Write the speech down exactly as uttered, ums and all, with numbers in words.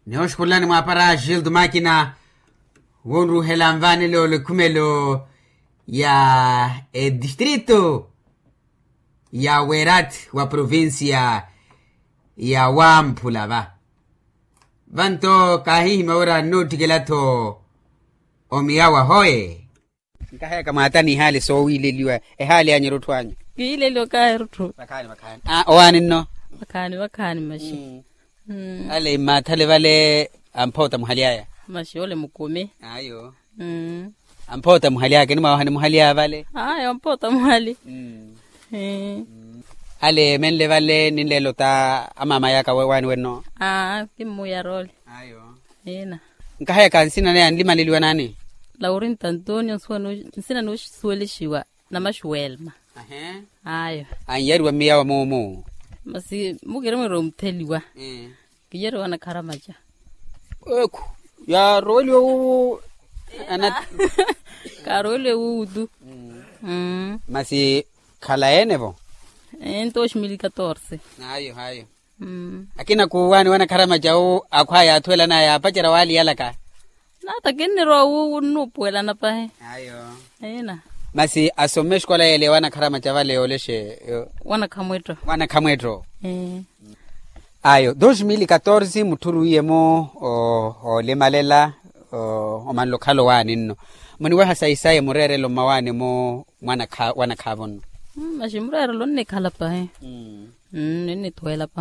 Nihooxukhulani mwaapara gildo makina wonruhela nvaanelo lekhumelo ya etistrito ya werat wa provincia ya wamphula va. Vanto kaahihimya wira nnoottikela-tho omiyawa hoe. Nkaheyaka mwaata n'ihaali soowiileliwa ehaali anyu erutthu anyu. Kiileliwa kahi erutthu. Vakhaani vakhaani. Owaani nno. Vakhaani vakhaani maxi. Ale mmaathale vale amphoota muhali aya. Maxi ole mukumi. Ayo. Amphoota muhali aya kinimawaha ni muhali aya vale. Ayo amphoota muhali. Ale menle vale ninleela ota amaama yaka waani wenno. Aa kimmuuyara ole. Ayo. Ina. Nkaheyaka nsina naya nlimaleliwa naani? Laurinto antonio nsina noosuwelixiwa. Namaxuwelma. Ayo. Anyariwa mmiyawa muumu. Masi mukiri mwira omutheliwa. Kiyariwa anakharamaca. Ekhu yaroweliwe wuwu. Karoweliwe wuwu tu. Masi khala ene-vo? Ento oximili katorse. Ayo ayo. Akina kuuwaani wanakharamaca wu akhwaya athuwelanaya yaapacerya waaliyalaka. Nata kinnirowa wu nnuupuwelana pahi. Ayo. Ina. Masi asome exikola yeele wanakharamaca vale yoolexe. Wanakhamwetto. Wanakhamwetto. Ayo dos mil katorse mutthuruwiye-mo olimalela. Omanle okhala owaani nno muniweha sayi sayi mureerelo mmawaani-mo. Mwanakhaavo nno. Maxi mureerelo onnikhala pahi. Ninnithuwela pahi.